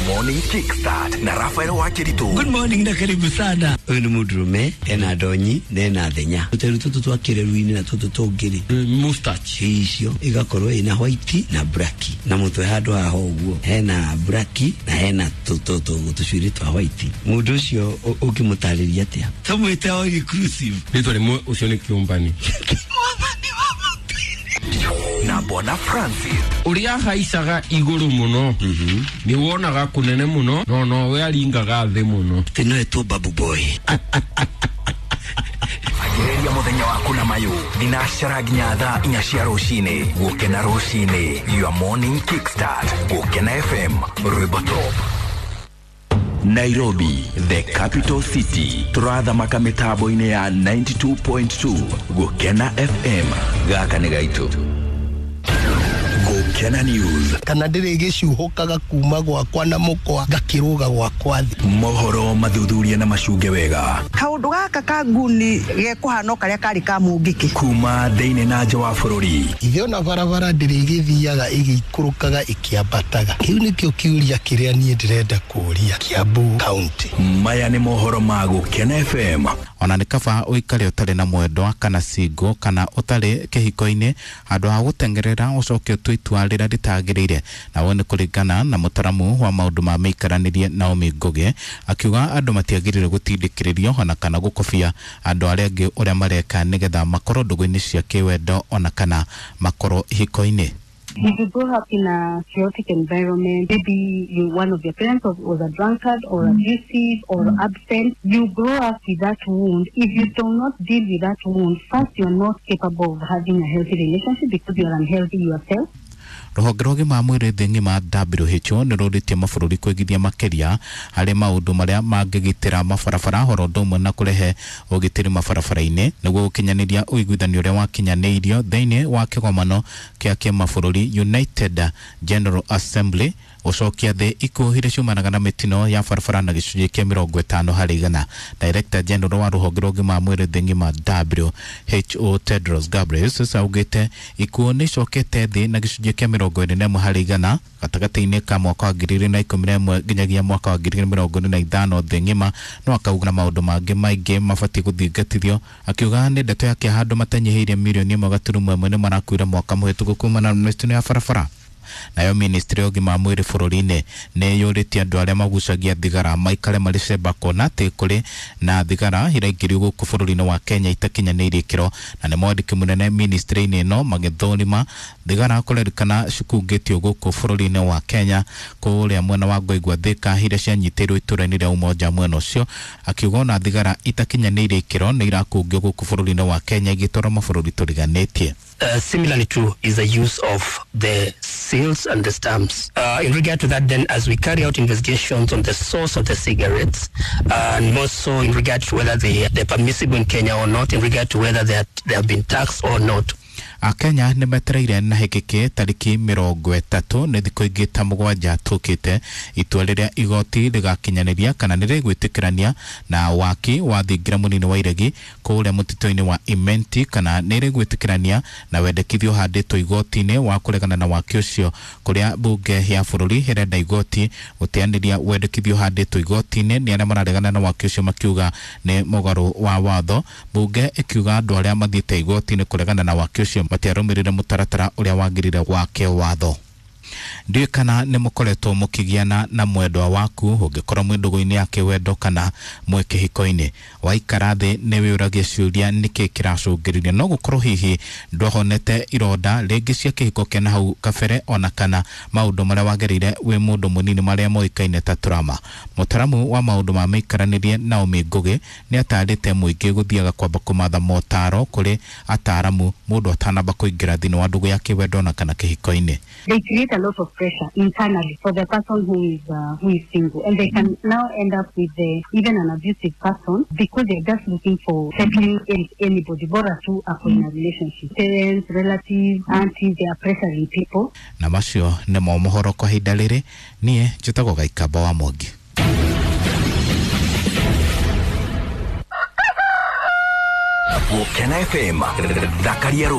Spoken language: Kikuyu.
Morning Kickstart na Rafael Wakiritu. Good morning na karibu sana. Ũyũ nĩ mũndũrũme ena ndonyi na ena thenya tũteru tũtũ twa kĩreru-inĩ na tũtũ tũngĩ rĩ Mustache. Icio igakorwo ina white na black na mũtwe handũ haha ũguo hena black na hena tũcuĩrĩ twa white. Mũndũ ũcio ũngĩmũtarĩria atĩa? Tũmwĩte all inclusive. Rĩtwa rĩmwe ũcio nĩ kĩũmbani. Na Bwana Francis. Ũrĩa ahaicaga igũrũ mũno nĩ wonaga kũnene mũno no nowe aringaga thĩ mũno. Atĩ no etwo babu boy. Anjĩrĩria mũthenya waku na mayũ thinacara nginya thaa 4 cia rũcinĩ. Gũkena rũcinĩ, your morning kickstart. Gũkena FM, rwĩmbo top. Nairobi, the capital city. Turathamaka mĩtambo-inĩ ya 92.2 Gũkena FM. Gaka nĩ gaitũ. Gũkena News. Kana ndĩrĩgĩcuhũkaga kuma gwakwa na mũkwa ngakĩrũga gwakwa thĩ. Mohoro mathuthuria na macunge wega. Kaũndũ gaka ka nguni gekũhana o karĩa karĩ ka mũngĩkĩ. Kuma thĩinĩ na nja wa bũrũri. Ithe ona barabara ndĩrĩgĩthiaga ĩgĩikũrũkaga ĩkĩambataga. Kĩu nĩkĩo kĩũria kĩrĩa niĩ ndĩrenda kũũria Kiambu County. Maya nĩ mohoro ma Gũkena FM. Ona nĩ kaba ũikare ũtarĩ na mwendwa kana single kana ũtarĩ kĩhiko-inĩ handũ ha gũteng'erera ũcoke ũtue itua rĩrĩa rĩtagĩrĩire. Nawe nĩ kũringana na mũtaramu wa maũndũ ma mĩikaranĩrie Naomi Ngũgĩ akiuga andũ matiagĩrĩire gũtindĩkĩrĩrio ona kana gũkobia andũ arĩa angĩ ũrĩa mareka nĩgetha makorwo ndũgũ-inĩ cia kĩwendo ona kana makorwo ihiko-inĩ. If you grow up in a chaotic environment, maybe one of your parents was a drunkard or abusive or absent, you grow up with that wound. If you do not deal with that wound, first you're not capable of having a healthy relationship because you're unhealthy yourself. Rũhonge rwa ũgima wa mwĩrĩ thĩ ng'ima WHO nĩ rũrĩtie mabũrũri kwĩgithia makĩria harĩ maũndũ marĩa mangĩgitĩra mabarabara oro ũndũ ũmwe na kũrehe ũgitĩri mabarabara-inĩ nĩguo gũkinyanĩria ũiguithanio ũrĩa wakinyanĩirio thĩinĩ wa kĩgomano kĩa kĩmabũrũri United General Assembly gũcokia thĩ ikuũ iria ciumanaga na mĩtino ya barabara na gĩcunjĩ kĩa 50 harĩ igana. Director General wa rũhonge rwa ũgima wa mwĩrĩ thĩ ng'ima WHO Tedros Ghebreyesus augĩte ikuũ nĩ icokete thĩ na gĩcunjĩ kĩa 41 harĩ igana gatagatĩ-inĩ ka mwaka wa 2011 nginyagia mwaka wa 2025 thĩ ng'ima. No akauga na maũndũ mangĩ maingĩ mabatiĩ gũthingatithio, akiuga nĩ ndeto ya kĩeha andũ matanyihĩire mirioni 1.1 nĩ marakuire mwaka mũhĩtũku kumana na mĩtino ya barabara. Nayo ministry ya ũgima wa mwĩrĩ bũrũri-inĩ nĩ yũrĩtie andũ arĩa magucagia thigara maikare marĩ cemba kuona atĩ kũrĩ na thigara iraingĩrio gũkũ bũrũri-inĩ wa Kenya itakinyanĩirie ikĩro, na nĩ mwandĩki mũnene ministry-inĩ ĩno magĩthũrima thigara kũrerĩkana cikungĩtio gũkũ bũrũri-inĩ wa Kenya kũrĩa mwena wa Ngoingwa Thika iria cianyitĩirwo itũũra-inĩ rĩa Umoja mwena ũcio, akiuga ona thigara itakinyanĩirie ikĩro nĩ irakungio gũkũ bũrũri-inĩ wa Kenya igĩtwarwo mabũrũri tũriganĩtie. Similarly too is the use of the seals and the stamps. In regard to that then, as we carry out investigations on the source of the cigarettes, and more so in regard to whether they're permissible in Kenya or not, in regard to whether they have been taxed or not. Akenya nĩ metereire na hĩkĩkĩ tarĩki 30 nĩ thikũ ingĩ ta 7 tũkĩte itua rĩrĩa igoti rĩgakinyanĩria kana nĩ rĩgwĩtĩkĩrania na waki wa thingira mũnini wa iregi kũrĩa mũtitũ-inĩ wa Imenti kana nĩ rĩgwĩtĩkĩrania na wendekithio ũhandĩtwo igoti-inĩ wa kũregana na waki ũcio kũrĩa mbunge ya bũrũri ĩrenda igoti gũteanĩria wendekithio ũhandĩtwo igoti-inĩ nĩ arĩa mararegana na waki ũcio makiuga nĩ mũgarũ wa watho. Mbunge ĩkiuga andũ arĩa mathiĩte igoti-inĩ kũregana na waki ũcio matiarũmĩrĩire mũtaratara ũrĩa wagĩrĩire wa kĩwatho. Ndiũĩ kana nĩ mũkoretwo mũkĩgiana na mwendwa waku ũngĩkorwo mwĩ ndũgũ-inĩ ya kĩwendo kana mwĩ kĩhiko-inĩ. Waikara thĩ nĩ wĩyũragia ciũria nĩkĩ kĩracũngĩrĩria, no gũkorwo hihi ndwahonete ironda rĩngĩ cia kĩhiko kĩa nahau kabere ona kana maũndũ marĩa wagereire wĩ mũndũ mũnini marĩa moĩkaine ta trauma. Mũtaramu wa maũndũ ma mĩikaranĩrie Naomi Ngũgĩ nĩ atarĩte mũingĩ gũthiaga kwamba kũmatha motaro kũrĩ ataramu mũndũ atanamba kũingĩra thĩinĩ wa ndũgũ ya kĩwendo ona kana kĩhiko-inĩ. They create a lot of pressure internally for the person who is single, and they can now end up with even an abusive person because they're just looking for settling anybody, bora tu ako in a relationship. Parents, relatives, aunties, they are pressuring people. Na macio nĩmo mohoro kwa ihinda rĩrĩ. Niĩ njĩtagwo Gaikamba wa Mwangi. Gũkena FM, thakaria.